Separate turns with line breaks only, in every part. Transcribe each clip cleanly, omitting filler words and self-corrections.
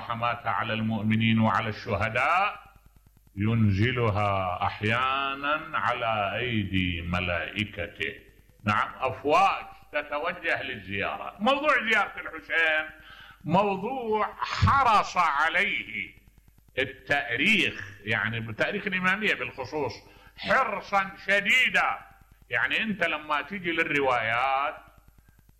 رحماته على المؤمنين وعلى الشهداء ينزلها أحيانا على أيدي ملائكته. نعم، أفواج تتوجه للزيارة. موضوع زيارة الحسين موضوع حرص عليه التاريخ، يعني بتاريخ الإمامية بالخصوص حرصا شديدا. يعني أنت لما تيجي للروايات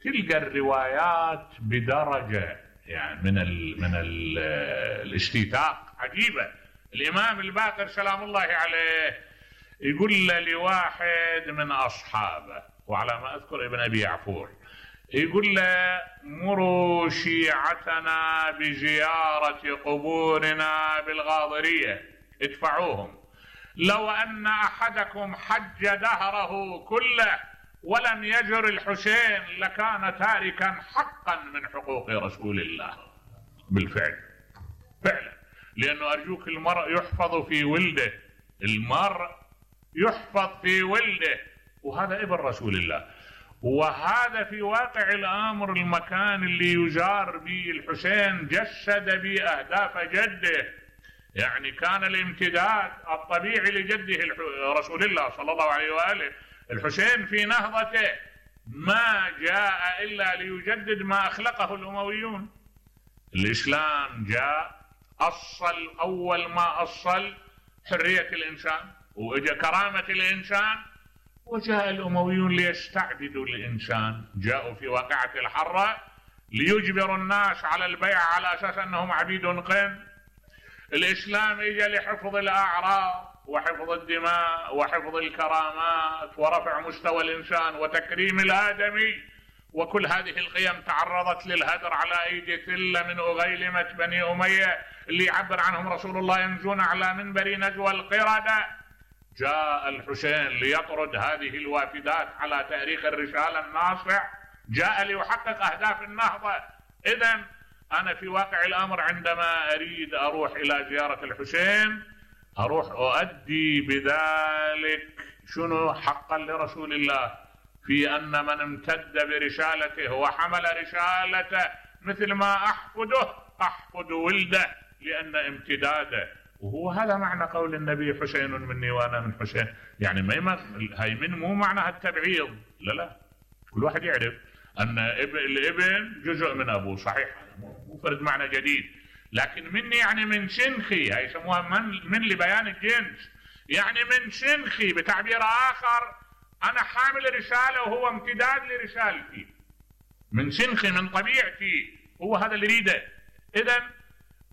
تلقى الروايات بدرجة يعني من الاستيثاق عجيبة. الإمام الباقر سلام الله عليه يقول لواحد من أصحابه، وعلى ما أذكر ابن أبي يعفور، يقول له: مروا شيعتنا بزيارة قبورنا بالغاضرية، ادفعوهم. لو أن أحدكم حج دهره كله ولم يزر الحسين لكان تاركا حقا من حقوق رسول الله. بالفعل فعلا، لأنه أرجوك المرء يحفظ في ولده، المرء يحفظ في ولده، وهذا ابن رسول الله. وهذا في واقع الأمر المكان اللي يزار به الحسين جسد به أهداف جده. يعني كان الامتداد الطبيعي لجده رسول الله صلى الله عليه وآله الحسين في نهضته ما جاء إلا ليجدد ما أخلقه الأمويون. الإسلام جاء أصل أول ما أصل حرية الإنسان وإجا كرامة الإنسان، وجاء الأمويون ليستعبدوا الإنسان. جاءوا في واقعة الحرة ليجبروا الناس على البيع على أساس أنهم عبيد قن. الإسلام إجا لحفظ الأعراض وحفظ الدماء وحفظ الكرامات ورفع مستوى الإنسان وتكريم الآدمي، وكل هذه القيم تعرضت للهدر على أيدي ثلة من أغيلمة بني أمية اللي يعبر عنهم رسول الله ينزون على منبر نجوى القردة. جاء الحسين ليطرد هذه الوافدات على تاريخ الرسالة الناصع، جاء ليحقق أهداف النهضة. إذن أنا في واقع الأمر عندما أريد أروح إلى زيارة الحسين أروح أؤدي بذلك شنو حقا لرسول الله، في أن من امتد برسالته وحمل رسالته مثل ما أحفد ولده، لأن امتداده. وهو هذا معنى قول النبي: حسين مني وأنا من حسين. يعني هاي من مو معناها التبعيض، لا، كل واحد يعرف أن الابن جزء من أبوه، صحيح، مو فرد معنى جديد. لكن مني يعني من شنخي، هاي يسموها من لبيان الجنس، يعني من شنخي. بتعبير آخر أنا حامل رسالة وهو امتداد لرسالتي، من شنخي من طبيعتي، هو هذا اللي يريده. إذن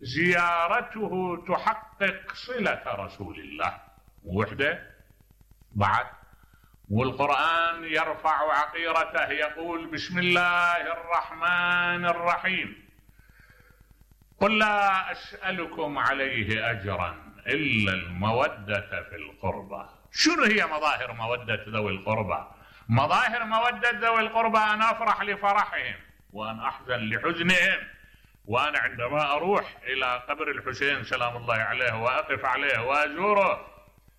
زيارته تحقق صلة رسول الله وحده بعد. والقرآن يرفع عقيرته يقول: بسم الله الرحمن الرحيم، قل لا أسألكم عليه أجرا إلا المودة في القربى. شنو هي مظاهر مودة ذوي القربى؟ مظاهر مودة ذوي القربى أن أفرح لفرحهم وأن أحزن لحزنهم. وأنا عندما أروح إلى قبر الحسين سلام الله عليه وأقف عليه وأزوره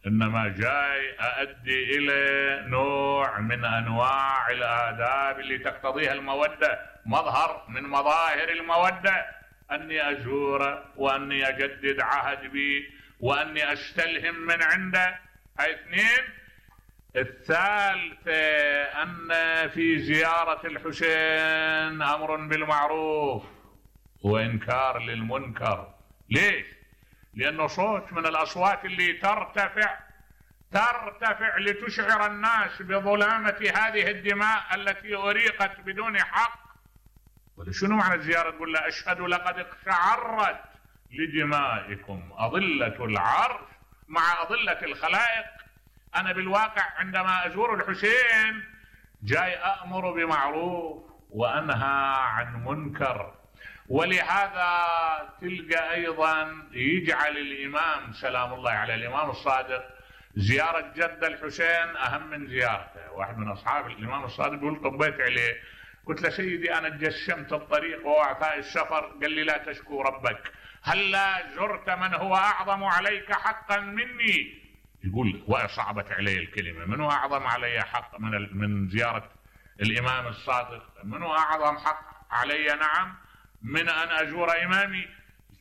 إنما جاي أؤدي إلى نوع من أنواع الآداب اللي تقتضيها المودة. مظهر من مظاهر المودة أني أزوره وأني أجدد عهد به وأني أستلهم من عنده. هاي اثنين. الثالثة أن في زيارة الحسين أمر بالمعروف وإنكار للمنكر. ليش؟ لأنه صوت من الأصوات اللي ترتفع لتشعر الناس بظلامة هذه الدماء التي أريقت بدون حق. شنو معنى الزيارة؟ تقول له: أشهد لقد اقشعرت لدمائكم أضلة العرش مع أضلة الخلائق. أنا بالواقع عندما أزور الحسين جاي أأمر بمعروف وأنهى عن منكر. ولهذا تلقى أيضا يجعل الإمام سلام الله على الإمام الصادق زيارة جد الحسين أهم من زيارته. واحد من أصحاب الإمام الصادق يقول: طبيت عليه، قلت له: سيدي أنا تجشمت الطريق وأعطاء السفر. قال لي: لا تشكو ربك، هلا زرت من هو أعظم عليك حقا مني. يقول وصعبت علي الكلمة: من هو أعظم علي حق من زيارة الإمام الصادق؟ من هو أعظم حق علي؟ نعم، من أن أزور إمامي.